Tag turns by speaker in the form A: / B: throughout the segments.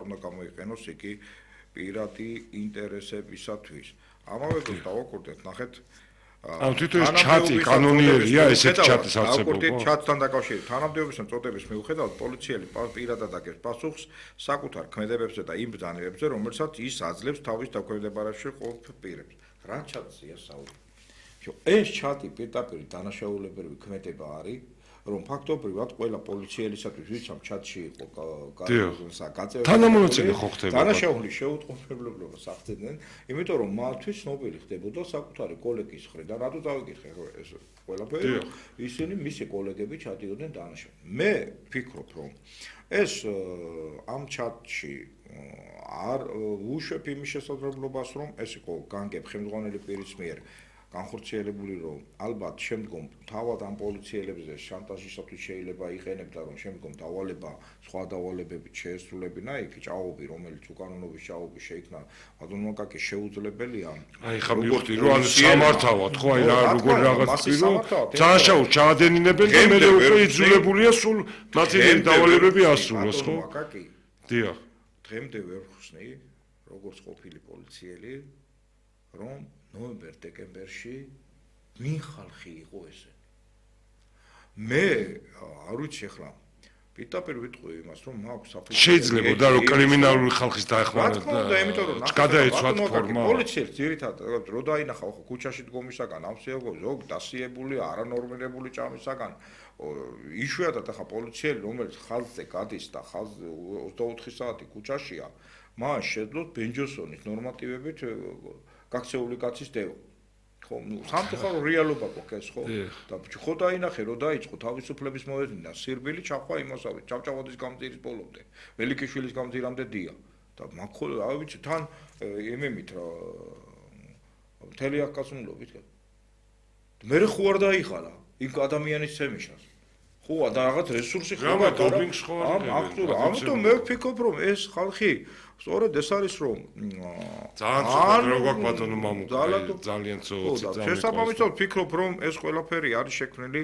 A: არ უნდა გამოიყენოს იგი პირადი ინტერესებისათვის. ამავე დროს დავაკურდეთ, ნახეთ
B: თვითონ ეს ჩატი კანონიერია, ესეთი ჩატის არსებობა.
A: ჩატთან დაკავშირებით თანამდებობისა წოდების მიუხედავად პოლიციელი პირადად აკეთებს პასუხს საკუთარ ქმედებებზე და იმ ბრძანებებზე, რომელსაც ის აძლევს თავის დაქვემდებარებაში ყოფ პირებს. რა ჩატზეა საუბარი? ეს ჩატი პირდაპირ დანაშაულებრივი ქმედება არის, რომ ფაქტობრივად ყველა პოლიციელისათვის ვინც ამ ჩატში იყო გაწეული
B: თანამონაწილე ხო ხდება
A: დანაშაულის შეუწყობებლობას აღწევდნენ, იმიტომ რომ მათთვის ცნობილი ხდებოდა საკუთარი კოლეგის მხრიდან, რატო დავიკითხე ეს ყველაფერი, ისინი მისი კოლეგები ჩადიოდნენ დანაშაულს. მე ვფიქრობ, რომ ეს ამ ჩატში არ უშვებ იმის შესაძლებლობას, რომ ეს იყო განგებ ხელმძღვანელი პირის მიერ განხორციელებული, რომ ალბათ შემდგომ თავად ამ პოლიციელებზე შანტაჟისათვის შეიძლება იყენებდა, რომ შემდგომ დავალება სხვა დავალებებით შეესრულებინა იქ ჭაობი, რომელიც უკანონობის ჭაობი შეიქმნა ადვოკატის შეუძლებელია.
B: აი ხა მივხვდი, რომ ანუ სამართავად, ხო, აი როგორ რაღაც პირო, დანაშაულს ჩაადენინებენ და მე უკვე იძულებულია სულ მათი დავალებები ასრულოს, ხო? დიახ.
A: დღემდე ვერ ხსნი, როგორც ყოფილი პოლიციელი, რომ ნოემბერ-დეკემბერში ვინ ხალხი იყო ესე. მე არ ვიცი ახლა პირდაპირ ვიტყვი იმას, რომ მაქვს საფუძველი.
B: შეიძლება და რომ კრიმინალური ხალხის დაეხმარება
A: და იმიტომ რომ
B: გადაეცვათ ფორმა.
A: პოლიციელს ძირითადად რო დაინახა ხო ქუჩაში დგომისაგან ამსიაგო ზოგ დასიებული არანორმირებული ჭამისაგან იშვიათად ახლა პოლიციელი რომელიც ხალხზე გადის და ხალხზე 24 საათი ქუჩაშია, მას შეძლოს ბენჯოსონის ნორმატივებით გაქცეული კაცის დევა. ხო, სამწუხარო რეალობა გვაქვს ხო? და ხო დაინახე, რომ დაიწყო თავისუფლების მოედნიდან სირბილი ჩახვა იმასავე, ჭავჭავაძის გამზირის ბოლომდე, ველიკიშვილის გამზირამდე დია. და მაგ რა ვიცი, თან იმემით რა მთელი აკაცმულობით. მე ხო არ დაიხარა იმ ადამიანის ცემიშას. ხო, და რაღაც რესურსი ხო ამიტომ მე ვფიქრობ, რომ ეს ხალხი სწორედ ეს არის რომ
B: ძალიან ცუდად რო გვაქვს ბატონო მამუკა ძალიან ცუდად
A: შესაბამისად ვფიქრობ რომ ეს ყველაფერი არის შექმნილი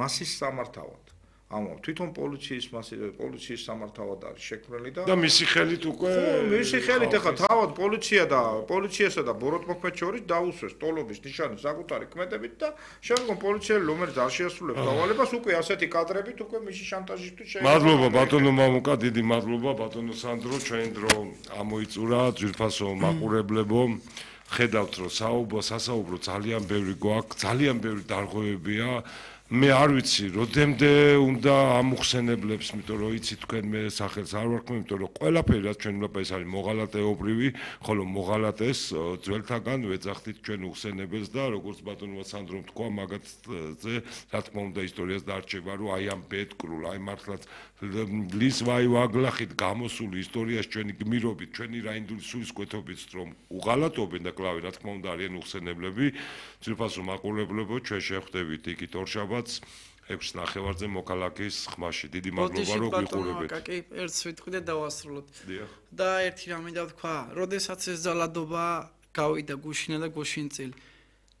A: მასის სამართავად ამო თვითონ პოლიციის სამართავად არის შექმნილი
B: და მისი ხელით უკვე
A: მისი ხელით ახლა თავად პოლიციასა და ბოროტმოქმედ შორის დაუსვეს ტოლობის ნიშანი საკუთარი ქმედებით და შემდგომ პოლიციელი რომელიც არ შეასრულებს დავალებას უკვე ასეთი კადრებით უკვე მისი შანტაჟისთვის
B: შეიძლება მადლობა ბატონო მამუკა დიდი მადლობა ბატონო სანდრო ჩვენ დრო ამოიწურა ძვირფასო მაყურებლებო ხედავთ რომ სასაუბრო ძალიან ბევრი გვაქვს ძალიან ბევრი დარღვევებია მე არ ვიცი როდემდე უნდა ამუხსენებლებს იმიტომ რომ იცი თქვენ მე სახელს არ ვარქმევ იმიტომ რომ ყველაფერი რაც ჩვენ უნდა ეს არის მოღალატეობრივი ხოლო მოღალატეს ძველთაგან ვეძახდით ჩვენ უხსენებელს და როგორც ბატონმა სანდრომ თქვა მაგათზე რა თქმა უნდა ისტორიას დარჩება რომ აი ამ ბედკრულ აი მართლაც ლის ვაი ვაგლახით გამოსული ისტორიაში ჩვენი გმირობით ჩვენი რაინდული სულისკვეთობით რომ უღალატობენ და კლავე რა თქმა უნდა არიან უხსენებლები ძირფასო მაყურებლებო ჩვენ შევხვდებით იქით ორშაბათს 6:30-ზე მოქალაქის ხმაში. დიდი მადლობა რომ გიყურებთ.
C: კი, ერთს ვიტყვი და დავასრულოთ. და ერთი რამე დავთქვა, როდესაც ეს ძალადობა გავიდა გუშინა და გუშინწილ.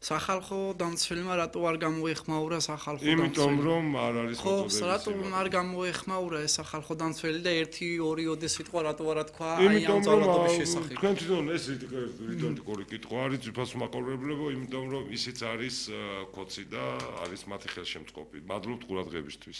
C: სახალხო დამცველმა რატო არ გამოეხმაურა სახალხო დამცველი?
B: იმიტომ რომ არ არის
C: მოწოდების. ხო, რატო არ გამოეხმაურა ეს სახალხო დამცველი და 1-2 ოდეს ვიტყვა რატო არა თქვა აი ამ ძალადობის შესახებ.
B: თქვენ თვითონ ეს რიტორიკული კითხვა არის ძვირფასო მაყურებლებო, იმიტომ რომ ისიც არის კოცი და არის მათი ხელშემწყობი. მადლობთ ყურადღებისთვის.